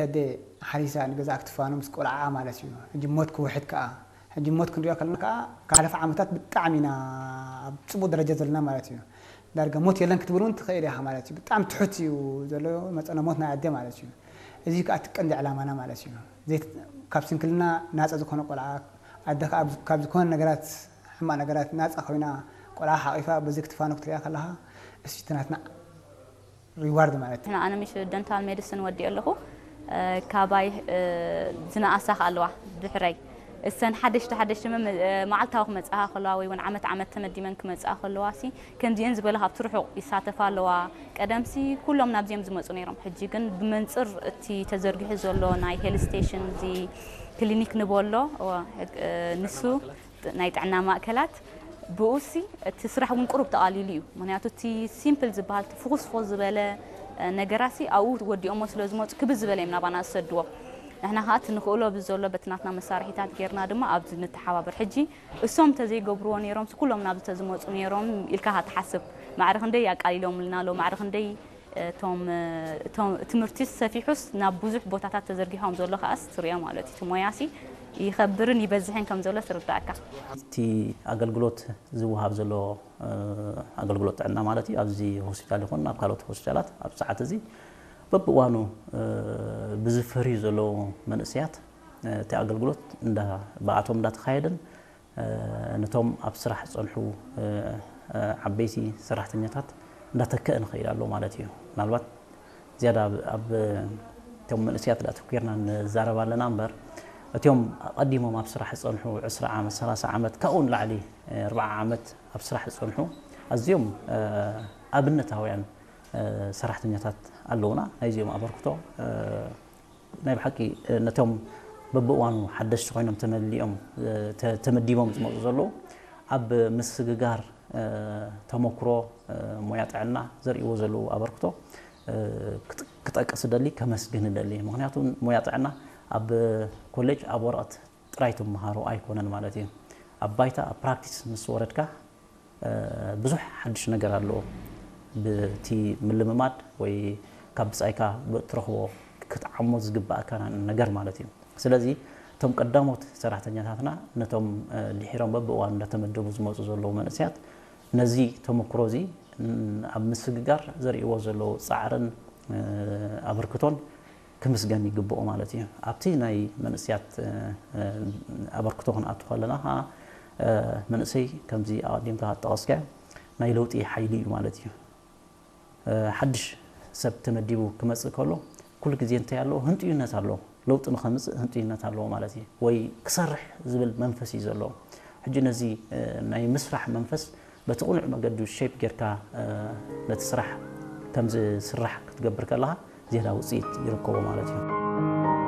ኣደ ሓሪሳ ንገዛ ክትፋኖ ምስ ቆልዓ ማለት እዩ። ሕጂ ሞት ክውሕድ ከዓ፣ ሕጂ ሞት ክንሪኦ ከለና ከዓ፣ ካለፈ ዓመታት ብጣዕሚ ኢና ኣብ ፅቡቅ ደረጃ ዘለና ማለት እዩ። ዳርጋ ሞት የለን ክትብል እውን ትኽእል ኢኻ ማለት እዩ። ብጣዕሚ ትሑት እዩ ዘሎ መፀነ ሞት ናይ ኣደ ማለት እዩ። እዚ ከዓ እቲ ቀንዲ ዕላማና ማለት እዩ። ካብ ስንክልና ናፃ ዝኾነ ቆልዓ፣ ኣደ ከዓ ካብ ዝኾነ ነገራት፣ ሕማቅ ነገራት ናፃ ኮይና፣ ቆልዓ ሓቂፋ በዚ ክትፋኖ ክትሪኣ ከለካ፣ እሱ እቲ ናትና ሪዋርድ ማለት እዩ። ኣነ ምሽ ደንታል ሜዲስን ወዲ ኣለኹ። ካባይ ዝነኣሳ ኣለዋ ድሕረይ፣ እሰን ሓደሽቲ ሓደሽቲ መዓልታዊ ክመፅኣ ከለዋ ወይ እውን ዓመት ዓመት ተመዲመን ክመፅኣ ከለዋ ሲ ከምዚአን ዝበለ ካብቲ ርሑቕ ይሳተፋ ኣለዋ። ቀደምሲ ኩሎም ናብዚኦም ዝመፁ ነይሮም። ሕጂ ግን ብመንፅር እቲ ተዘርጊሑ ዘሎ ናይ ሄል ስቴሽን እዚ ክሊኒክ ንበሎ ንሱ ናይ ጥዕና ማእከላት ብኡሲ እቲ ስራሕ እውን ቁሩብ ተቓሊሉ እዩ። ምክንያቱ እቲ ሲምፕል ዝበሃል እቲ ፍኹስፎ ዝበለ ነገራሲ ኣብኡ ወዲኦሞ ስለ ዝመፁ ክብዝ ዝበለ እዮም ናባና ዝሰድዎ። ንሕና ከዓ እቲ ንኽእሎ ብዘሎ በቲ ናትና መሳርሒታት ጌርና ድማ ኣብዚ ንተሓባበር። ሕጂ እሶም እንተዘይገብርዎ ነይሮም ኩሎም ናብዚ ተዝመፁ ነይሮም ኢልካ ትሓስብ። ማዕረ ክንደይ ኣቃሊሎምልና ኣሎ፣ ማዕረ ክንደይ እቶም ትምህርቲስ ሰፊሑስ ናብ ብዙሕ ቦታታት ተዘርጊሖም ዘሎ ከኣስ ትሪኦ ማለት እዩ። እቲ ሞያሲ ይኸብርን ይበዝሕን ከም ዘሎ ትርዳእካ። እቲ ኣገልግሎት ዝወሃብ ዘሎ ኣገልግሎት ጥዕና ማለት እዩ ኣብዚ ሆስፒታል ይኹን ኣብ ካልኦት ሆስፒታላት ኣብ ሰዓት እዚ በብእዋኑ ብዝፈርዩ ዘለዉ መንእሰያት እቲ ኣገልግሎት ብኣቶም እንዳተኻየደን ነቶም ኣብ ስራሕ ዝፀንሑ ዓበይቲ ሰራሕተኛታት እንዳተክአ ንኽእል ኣሎ ማለት እዩ። ምናልባት ዝያዳ ኣብ እቶም መንእሰያት ዳ ተኮርና ንዛረብ ኣለና እምበር እቲኦም ኣቐዲሞም ኣብ ስራሕ ዝፀንሑ ዕስራ ዓመት፣ ሰላሳ ዓመት፣ ካብኡ ንላዕሊ ኣርብዓ ዓመት ኣብ ስራሕ ዝፀንሑ ኣዝዮም ኣብነታውያን ሰራሕተኛታት ኣለውና። ናይዚኦም ኣበርክቶ ናይ ብሓቂ ነቶም በብእዋኑ ሓደሽቲ ኮይኖም ተመሊኦም ተመዲቦም ዝመፁ ዘለዉ ኣብ ምስግጋር ተመክሮ ሞያ ጥዕና ዘርእይዎ ዘለዉ ኣበርክቶ ክጠቅስ እደሊ፣ ከመስግን እደሊ። ምክንያቱ ሞያ ጥዕና ኣብ ኮሌጅ ኣብ ወረቐት ጥራይ ትመሃሮ ኣይኮነን ማለት እዩ። ኣብ ባይታ ኣብ ፕራክቲስ ምስ ወረድካ ብዙሕ ሓድሽ ነገር ኣለዎ። ብቲ ምልምማድ ወይ ካብ ብጻይካ ብእትረኽቦ ክትዓሞ ዝግባእካ ነገር ማለት እዩ። ስለዚ እቶም ቀዳሞት ሰራሕተኛታትና ነቶም ድሒሮም በብእዋኑ እንዳተመደቡ ዝመፁ ዘለዉ መንእሰያት ነዚ ተመክሮ እዚ ኣብ ምስግጋር ዘርእይዎ ዘለዉ ፃዕርን ኣበርክቶን ክምስገን ይግብኦ ማለት እዩ። ኣብቲ ናይ መንእሰያት ኣበርክቶ ክንኣቱ ከለና ከዓ መንእሰይ ከምዚ ኣቐዲምካ ዝጠቐስካዮ ናይ ለውጢ ሓይሊ እዩ ማለት እዩ። ሓድሽ ሰብ ተመዲቡ ክመፅእ ከሎ ኩሉ ግዜ እንታይ ኣለዎ? ህንጥዩነት ኣለዎ። ለውጢ ንኸምፅእ ህንጥዩነት ኣለዎ ማለት እዩ። ወይ ክሰርሕ ዝብል መንፈስ እዩ ዘለዎ። ሕጂ ነዚ ናይ ምስራሕ መንፈስ በቲ ቅኑዕ መገዲ ሸይፕ ጌርካ ነቲ ስራሕ ከም ዝስራሕ ክትገብር ከለኻ ዝያዳ ውፅኢት ይርከቦ ማለት እዩ።